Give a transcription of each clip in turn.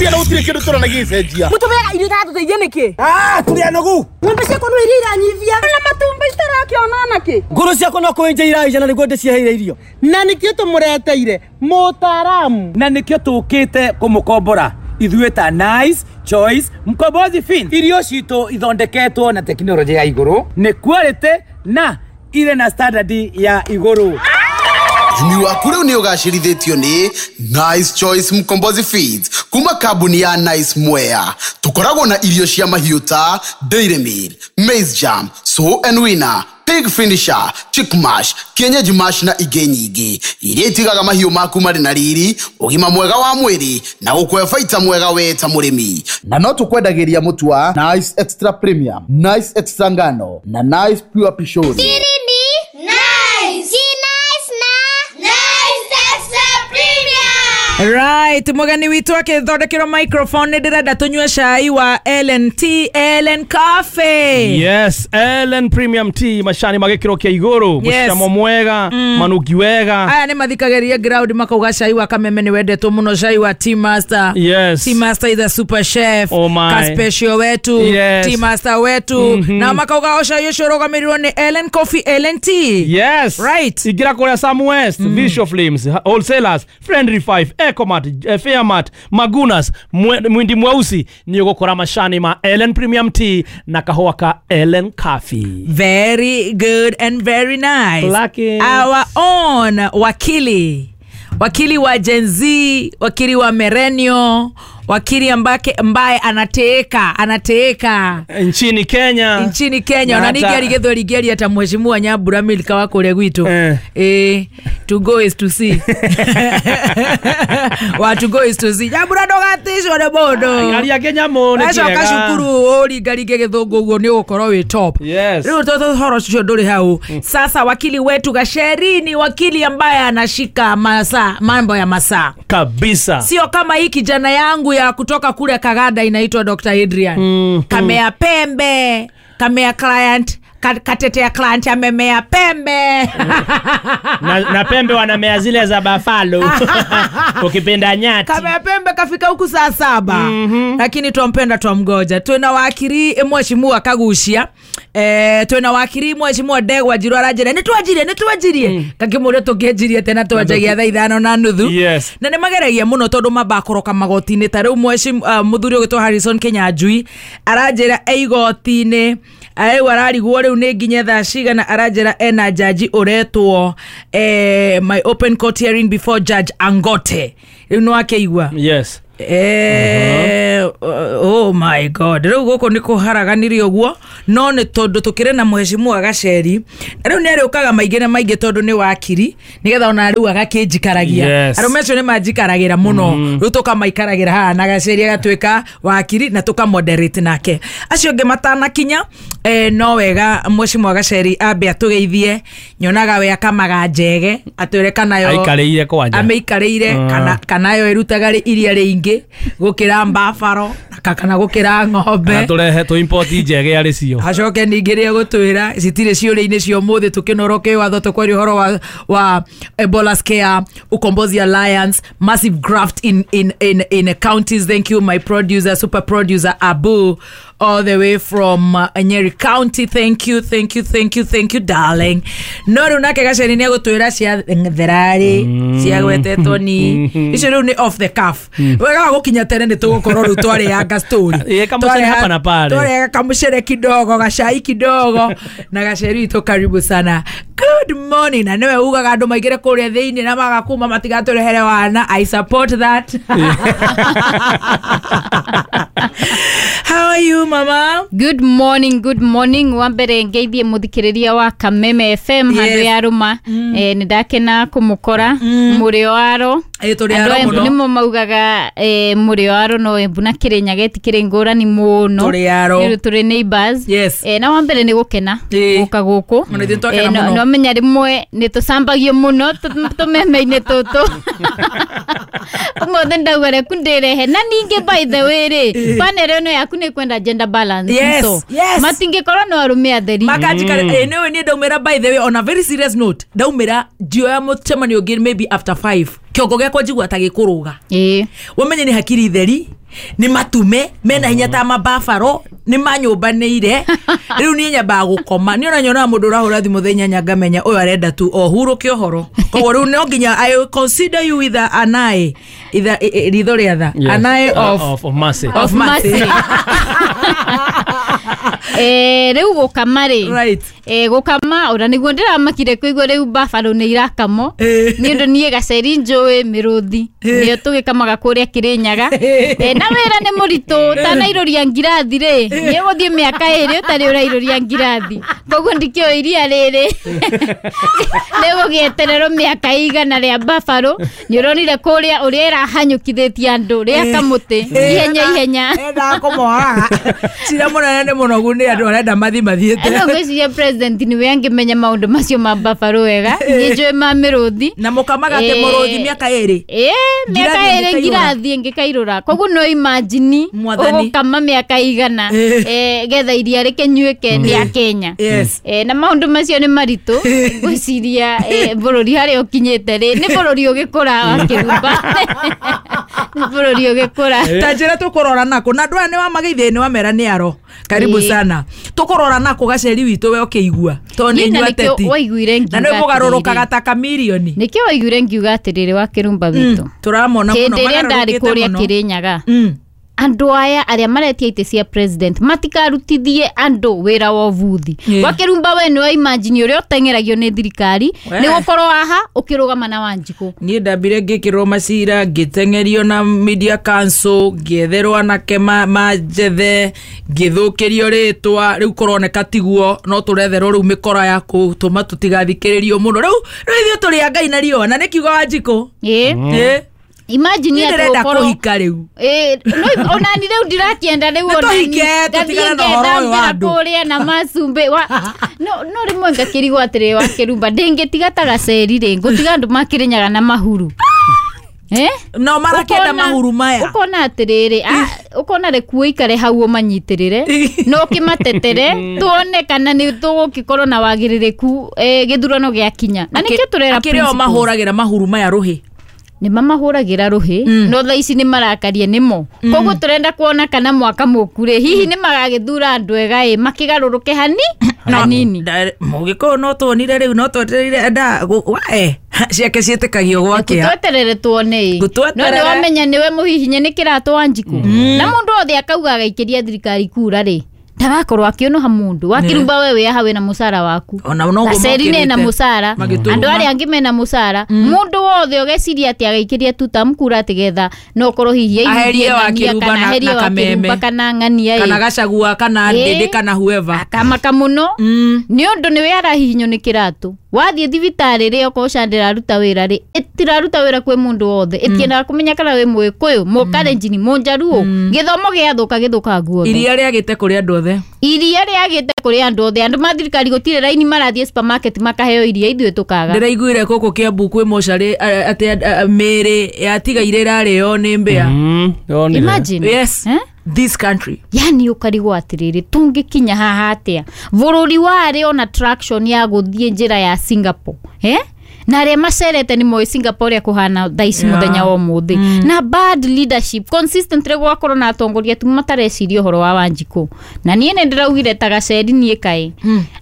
Tia gutire kindu turanagia icenjia. Mutumira irio iratuteithia niki? Ah, turi anogu. Ng'ombe ciakwa no iria iranyithia. Na matumbi citarakiona naki. Nguru ciakwa no kuenja iraija na niguo ndiciheire irio. Na nikio tumureteire mutaramu. Na nikio tukite kumukombora. Ithuĩ ta Nice Choice Mkombozi Fin. Irio citũ ithondeketwo na tekinoronjĩ ya igũrũ, nĩ quality na ire na standard ya igũrũ. Ũrĩmi waku rĩu nĩ ũgacĩrithĩtio nĩ Nice Choice Mkombozi Feeds kuma kambuni ya Nice Mwea. Tũkoragwo na irio cia mahiũ ta Dairy Meal, Maize Jam, Sow and Winner, Pig Finisher, Chick Mash, Kienyeji Mash na ingĩ nyingĩ iria itigaga mahiũ maku marĩ na riri, ũgima mwega wa mwĩrĩ na gũkũhe baita mwega we ta mũrĩmi. Na no tũkwendagĩria mũtu wa Nice Extra Premium, Nice Extra Ngano na Nice Pure Pishori. Right, mugani witu akithondekerwo microphone ndirenda tunyue cai wa Ellen Tea, Ellen Coffee. Yes, Ellen Premium Tea, macani magikiro kia iguru, mucamo mwega, manuki wega. Aya ni mathikageria ground makauga cai wa Kameme ni wendetwo muno, cai wa Tea Master. Yes. Tea Master is a super chef. Oh my. Ka special wetu, yes. Tea Master wetu. Na makauga o cai ucio rugamirirwo ni Ellen Coffee, Ellen Tea. Yes. Right. Igira kuria Sam West, Visual Flames, Wholesalers, Friendly 5, Ecomat, Fairmart, Magunas, Mwindi Mweusi ni ugukora macani ma Ellen Premium Tea na kahũa ka Ellen Coffee. Very good and very nice. Lucky. Our own wakili. Wakili wa Gen Z, wakili wa Merenio, wakili ambaye anateeka nchini Kenya. Nchini Kenya. Ona ningeri githweri ngeri ata mheshimiwa Nyambura Milka wa kuria gwitu. To go is to see. Wa to go is to see. Nyambura ndogatishwo ni mundu. Aria Kenya mu ni kiega. Acoka cukuru uringaringe githungu uguo ni ugukorwo wi top. Yes. Riu toto horo ucio nduri hau. Sasa wakili wetu Gacheri ni wakili ambaye anashika masaa, mambo ya masaa. Kabisa. Sio kama hii kijana yangu ya kutoka kule Kagada inaitwa Dr. Adrian. Kamea pembe, kamea client, katetea client amemea pembe. Na pembe wanamea zile za buffalo. Ukipenda nyati. Kamea pembe kafika huku saa 7. Lakini twampenda twamgoja. Twina wakiri mheshimiwa Kagucia. Twina wakiri mheshimiwa Ndegwa Njiru aranjira ni twanjirie. Kakimure tungienjirie tena twanjagia thaa 5:30. Yes. Na ni mageragia muno tondu mabakoroka magoti-inĩ ta riu mheshimiwa muthuri ũgĩtwo Harrison Kinyanjui aranjira igoti-inĩ rĩu ararigwo rĩu nĩ nginya thaa cigana aranjĩra ena jaji ũretwo my open court hearing before Judge Angote. Rĩu nĩ wakeigua. Yes. Oh my god, rĩu gũkũ nĩ kũharaganirio ũguo no nĩ tondũ tũkĩrĩ na mheshimiwa Gacheri rĩu nĩ arĩũkaga maingĩ na maingĩ tondũ nĩ wakiri nĩgetha ona rĩu agakĩnjikaragia. Yes. Arũme acio nĩ manjikaragĩra mũno rĩu tũkamaikaragĩra haha na Gacheri agatuĩka wakiri na tũkamoderate nake. Acio angĩ matanakinya no wega mheshimiwa Gacheri ambe atũgeithie, nyonaga we akamaga njege atwĩre kana yo aikarĩire kwanja amĩikarĩire kana yo ĩrutaga iria rĩingĩ gukira mbafaro kana gukira ng'ombe na turehe tu import njege ari cio acoke ningĩ rĩa gũtwĩra citirĩ ciũria-inĩ cia ũmũthĩ tũkĩnoroke watho tũkwaria ũhoro wa Ebola Scare, Ukombozi Alliance, massive graft in counties. Thank you my producer, super producer Abu all the way from Nyeri County. Thank you, thank you, thank you, thank you darling. No rĩu nake Gacheri nĩ egũtwĩra cia therarĩ cia gwetetwo ni icio rĩu nĩ off the cuff. Wega gũkinya tene nĩ tũgũkorwo rĩu twarĩanga story. Kamucere hapa na pale. Twarĩanga kamucere kidogo, gacai kidogo na Gacheri witũ karibu sana. Good morning. Na niwe ugaga andũ maingĩre kũrĩa thĩinĩ na magakuma matigatũrehere wana. I support that. How are you mama? Good morning, good morning. Wambere ngeithie muthikiriria wa Kameme FM handu ya ruma. Ni ndakena kumukora murio aro. Turi aro muno. Nimo maugaga murio aro no Embu na Kirinyaga itikiri ngurani muno. Turi aro. Turi neighbors. Yes. Na wambere ni gukena guka guku. No menya rimwe ni tucambagio muno tumeme-ini tutu. Umuthi ndauga reku ndirehe na ningi by the way ri panel ino yaku ni kwenda gender balance. Yes, so yes. Matingĩkorwo no arume atheri makanjikara. Niwe ni ndaumira by the way on a very serious note ndaumira njioya mucemanio ũngĩ maybe after 5 kĩongo gĩakwa njigua ta gĩkũrũga. Wamenye ni hakiri theri Nĩ matume mena hinya ta mabafaro nĩ manyũmbanĩire. Rĩu niĩ nyambaga gũkoma. Niĩ ona nyonaga mũndũ ũrahũra thimũ thaa inyanya ngamenya ũyũ arenda tu o hurũke ũhoro. Koguo rĩu no nginya I will consider you with an eye, ritho rĩa tha. An eye of mercy. Of mercy. Rĩu gũkama rĩ. Right. Gũkama ona nĩguo ndĩramakire kũigua rĩu buffalo nĩ irakamo. Nĩ ũndũ niĩ gaceri njũĩ mĩrũthi nĩyo tũgĩkamaga kũrĩa Kĩrĩnyaga. Na wĩra nĩ mũritũ tanairũria ngirathi rĩ nĩ ũgũthiĩ mĩaka ĩrĩ ũtarĩ ũrairũria ngirathi koguo ndikĩũĩ iria rĩrĩ nĩgũgĩetererwo mĩaka igana rĩa buffalo. Nĩ ũronire kũrĩa ũrĩa ĩrahanyũkithĩtie andũ rĩa kamũtĩ ihenya ihenya. Endaga kũmoraga cira mũnene nĩ mũnogu nĩ andũ arenda mathi mathiĩte. No ngwĩciria president nĩwe angĩmenya maũndũ macio ma buffalo wega. Niĩ njũĩ ma mĩrũthi na mũkamaga atĩ mũrũthi mĩaka ĩrĩ. Mĩaka ĩrĩ ngirathi ĩngĩkairũra. Koguo no imagine ũgũkama mĩaka igana getha iria rĩkĩnyuĩke rĩa Kenya. Na maũndũ macio nĩ maritũ ngwĩciria bũrũri harĩa ũkinyĩte rĩ nĩ bũrũri ũgĩkũra wa Kĩrumba. Nĩ bũrũri ũgĩkũra. Ta njĩra tũkũrora nako na andũ aya nĩ wamageithia nĩ wamera nĩ aro. Karibu sana. Tũkũrora nako gaceri witũ we ũkĩigua tondũ nĩ inyuĩ ateti na nĩ mũgarũrũkaga ta kamirioni. Nĩkĩo waiguire ngiuga atĩrĩrĩ wa Kĩrumba witũ tũramona mũno hĩndĩ ĩrĩa ndarĩ kũrĩa Kĩrĩnyaga andũ aya arĩa maretia itĩ cia president matikarutithie andũ wĩra wa ũbuthi. Wa Kĩrumba we nĩwe imagine ũrĩa ũteng'eragio nĩ thirikari nĩ gũkorwo haha ũkĩrũgama na Wanjikũ. Niĩ ndambire ngĩkĩrwo macira ngĩteng'erio na media council ngĩetherwo anake manjethe ngĩthũkĩrio rĩtwa rĩu kũroneka tiguo no tũretherwo rĩu mĩkora ya kũtũma tũtigathikĩrĩrio mũno. Rĩu ithuĩ tũrĩ a Ngai na riũa na nĩ kiugo Wanjikũ. Imagine atĩ ũkorwo kũhika rĩu. No onani rĩu ndirakĩenda rĩu onani tũtigane na ũhoro ũyũ wa andũ kũrĩa na macumbĩ wa no rĩmwe ngakĩrigwo atĩrĩ wa Kĩrumba ndĩngĩtiga ta gaceri rĩ ngũtiga andũ makĩrĩnyaga na mahuru. No marakĩenda mahuru maya. Ũkona atĩrĩrĩ ũkona rĩkuo ikare hau ũmanyitĩrĩre no ũkĩmatetere tuone kana nĩ tũgũgĩkorwo na wagĩrĩrĩku gĩthurano gĩakinya. Na nĩkĩo tũrera akĩrĩ o mahũragĩra mahuru maya rũhĩ. Nĩ mamahũragĩra rũhĩ no thaa ici nĩ marakaria nĩmo. Koguo tũrenda kuona kana mwaka mũku rĩ hihi nĩ magagĩthura andũ ega ĩ makĩgarũrũke hanini. Mũgĩkũyũ no tuonire rĩu no twetereire nda ciake ciĩtĩkagio gwakĩa. Tweterere tuone ĩ. No nĩ wamenya nĩwe mũhihinye nĩ kĩratũ Wanjikũ. Na mũndũ othe akauga agaikĩria thirikari kura rĩ ndagakorwo akĩũnũha mũndũ. Wa Kĩrumba we wĩ haha wĩna mũcara waku. Gaceri nena mũcara. Andũ arĩa angĩ mena mũcara. Mũndũ wothe ũgeciria atĩ agaikĩria tutam kura atĩ getha no ũkorwo hihi aherie wa Kĩrumba na Kameme kana ng'ania kana Gachagua kana Ndĩndĩ kana whoever. Akamaka mũno nĩ ũndũ nĩwe arahihinywo nĩ kĩratũ. Wathiĩ thibitarĩ rĩ okorwo SHA ndĩraruta wĩra rĩ ĩtiraruta wĩra kwĩ mũndũ wothe. Ĩtiendaga kũmenya kana wĩ Mũgĩkũyũ, Mũkalenjin, Mũnjaruo. Gĩthomo gĩathũka gĩthũkaga guothe. Iria rĩagĩte kũrĩ andũ othe. Iria rĩagĩte kũrĩ andũ othe. Andũ ma thirikari gũtirĩ raini marathiĩ supermarket makaheo iria ithuĩ tũkaga. Ndĩraiguire gũkũ Kĩambu kwĩ mocarĩ atĩ mĩĩrĩ yatigaire ĩrarĩo nĩ mbĩa. Imagine. Yes. This country. Yani ũkarigwo atĩrĩrĩ tũngĩkinya haha atĩa bũrũri warĩ ona traction ya gũthiĩ njĩra ya Singapore na arĩa macerete nĩ moĩ Singapore ũrĩa kũhana thaa ici mũthenya wa ũmũthĩ. Na bad leadership consistently gwakorwo na atongoria tu matareciria ũhoro wa Wanjikũ. Na niĩ nĩ ndĩraugire ta gaceri niĩ kaĩ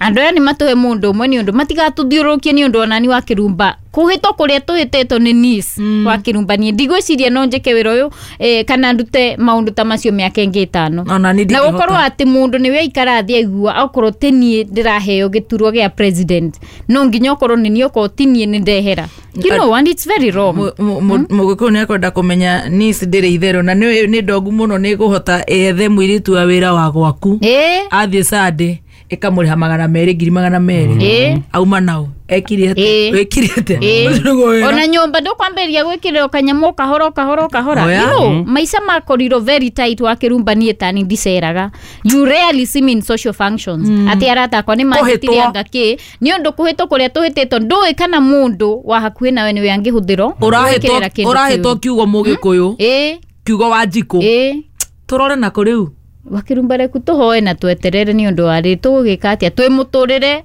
andũ aya nĩ matũhe mũndũ ũmwe nĩ ũndũ matigatũthiũrũrũkie nĩ ũndũ onani wa Kĩrumba kũhĩtwo kũrĩa tũhĩtĩtwo nĩ niece wa Kĩrumba. Niĩ ndigwĩciria no njĩke wĩra ũyũ kana ndute maũndũ ta macio mĩaka ĩngĩ ĩtano. Na gũkorwo atĩ mũndũ nĩwe aikara thĩ aigua okorwo ti niĩ ndĩraheo gĩturwa gĩa president no nginya okorwo nĩ niĩ okorwo ti niĩ nĩ ndehera. You know, and it's very wrong. Mũgĩkũyũ nĩ ekwenda kũmenya niece ndĩrĩ itherũ na nĩ ndogu mũno nĩ kũhota ethe mũirĩtu wa wĩra wa gwaku athiĩ Sunday ĩkamũrĩha 200 ngiri 200 auma nao ekire atĩa wĩkire atĩa ona nyũmba ndũkwambĩrĩria gwĩkĩrĩrwo kanyamũ kahora kahora kahora. You know, maica makorirwo very tight wa Kĩrumba niĩ tani ndiceraga. You rarely see me in social functions. Atĩ arata akwa nĩ manjĩtire anga kĩ nĩ ũndũ kũhĩtwo kũrĩa tũhĩtĩtwo ndũĩ kana mũndũ wa hakuhĩ nawe nĩwe angĩhũthĩrwo ũrahĩtwo kiugo Mũgĩkũyũ kiugo Wanjikũ tũrore nako rĩu. Wakĩrumba reku tũhoe na tweterere nĩ ũndũ wa rĩ tũgũgĩka atĩa twĩ mũtũrĩre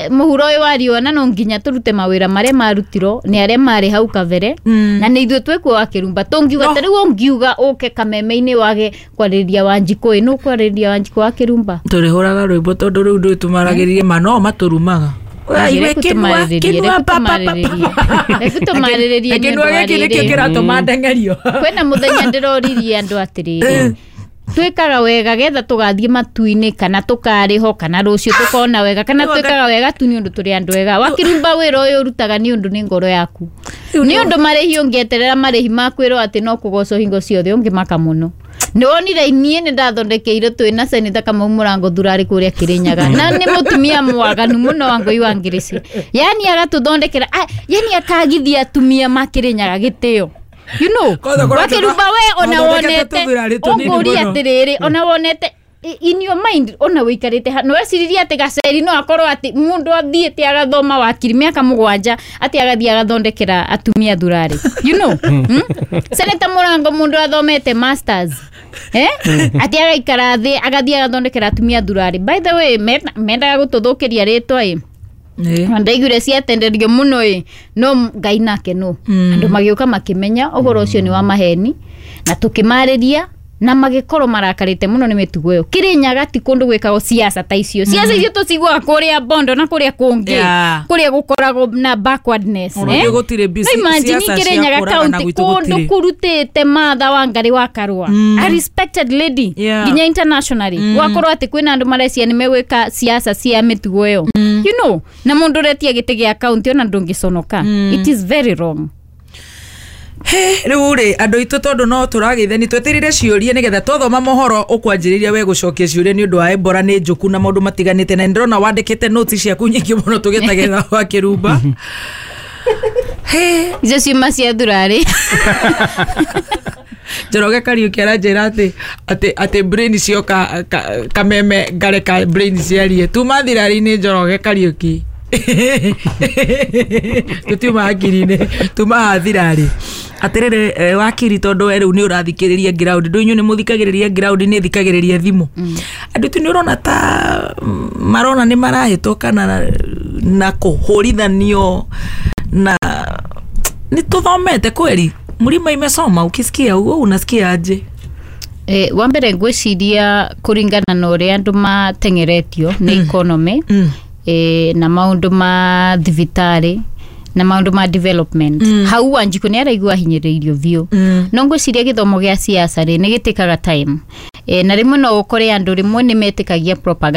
mũhuro ũyũ wa riũa na no nginya tũrute mawĩra marĩa marutirwo nĩ arĩa marĩ hau kabere na nĩ ithuĩ twĩkuo Wakĩrumba tũngiuga ta rĩu ũngiuga ũke kameme-inĩ wage kwarĩrĩria Wanjikũ ĩ nũ kwarĩrĩria Wanjikũ Wakĩrumba Tũrĩhũraga rwĩmbo tondũ rĩu ndũĩ tũmaragĩrĩrie ma no matũrumaga. Reku tũmarĩrĩrie, reku tũmarĩrĩrie. Reku tũmarĩrĩrie nĩ ũndũ Kĩnua wa gĩkĩ nĩkĩo rĩrĩ. kĩratũma ndeng'erio. Kwĩna mũthenya ndĩroririe andũ atĩrĩrĩ, twĩkaga wega getha tũgathiĩ matu-inĩ kana tũkarĩho kana rũciũ tũkona wega kana twĩkaga wega tu nĩ ũndũ tũrĩ andũ ega. Wakĩrumba wĩra ũyũ ũrutaga nĩ ũndũ nĩ ngoro yaku, nĩ ũndũ marĩhi ũngĩeterera marĩhi makwĩrwo atĩ no kũgocwo hingo ciothe ũngĩmaka mũno. Nĩ wonire niĩ nĩ ndathondekeire twĩ na seneta Kamau Mũrango thurarĩ kũrĩa Kĩrĩnyaga na nĩ mũtumia mwaganu mũno wa Ngũi wa Ngĩrĩci, yani agatũthondekera yani akagithia atumia ma Kĩrĩnyaga gĩtĩo. You know, Kwanza kuna Wakĩrumba we ona mathondekete wonete tũthurarĩ tũnini ũngũria mũno. atĩrĩrĩ, ona wonete in your mind ona wĩikarĩte ha nĩweciririe atĩ gaceri no akorwo atĩ mũndũ athiĩte agathoma wakiri mĩaka 7 atĩ agathiĩ agathondekera atumia thurarĩ, you know. Seneta Mũrango mũndũ athomete masters atĩ agaikara thĩ agathiĩ agathondekera atumia thurarĩ. By the way, mendaga gũtũthũkĩria rĩtwa ĩ ndaiguire ciatenderio mũno ĩ no Ngai nake no andũ magĩũka makĩmenya ũhoro ũcio nĩ wa maheni na tũkĩmarĩria na magĩkorwo marakarĩte mũno nĩ mĩtugo ĩyo. Kĩrĩnyaga ti kũndũ gwĩkagwo siasa ta icio. Siasa icio tũciguaga kũrĩa Bondo na kũrĩa kũngĩ kũrĩa gũkoragwo na backwardness. Ona ithuĩ gũtirĩ No imagine siasa cia Kĩrĩnyaga kũragana county gwitũ kũndũ gũtirĩ. kũrutĩte Martha Wangari wa Karua, a respected lady nginya internationally, gwakorwo atĩ kwĩna andũ marecia nĩ megwĩka siasa cia mĩtugo ĩyo, you know, na mũndũ ũretia gĩtĩ gĩa county ona ndũngĩconoka. It is very wrong. Rĩu rĩ andũ aitũ tondũ no tũragĩithani twetereire ciũria nĩgetha twathoma mohoro ũkwanjĩrĩria we gũcokia ciũria nĩ ũndũ wa Ebola nĩ njũku na maũndũ matiganĩte na nĩndĩrona wandĩkĩte notes ciaku nyingĩ mũno tũgĩtagĩrĩra Wakĩrumba. Icio ciuma cia thurarĩ. Njoroge Kariũki aranjĩra atĩ brain cioka kameme ngareka brain ciarie tuma thirarĩ-inĩ. Njoroge Kariũki, tũtiuma hakiri-inĩ, tuma haha thirarĩ. Atĩrĩrĩ wakiri, tondũ we rĩu nĩ ũrathikĩrĩria ground, ndũ inyuĩ nĩ mũthikagĩrĩria ground, nĩ thikagĩrĩria thimũ andũ tu nĩ ũrona ta marona nĩ marahĩtũka na kũhũrithanio na nĩ tũthomete kweli mlima imesoma ukisikia uo unasikia aje? Wa mbere ngwĩciria kũringana na ũrĩa andũ mateng'eretio nĩ economy na maũndũ ma thibitarĩ na maũndũ ma development, hau Wanjikũ nĩ araigua ahinyĩrĩirio biũ. No ngwĩciria gĩthomo gĩa siasa rĩ nĩ gĩtĩkaga time, na rĩmwe no ũkore andũ rĩmwe nĩ metĩkagia propaganda.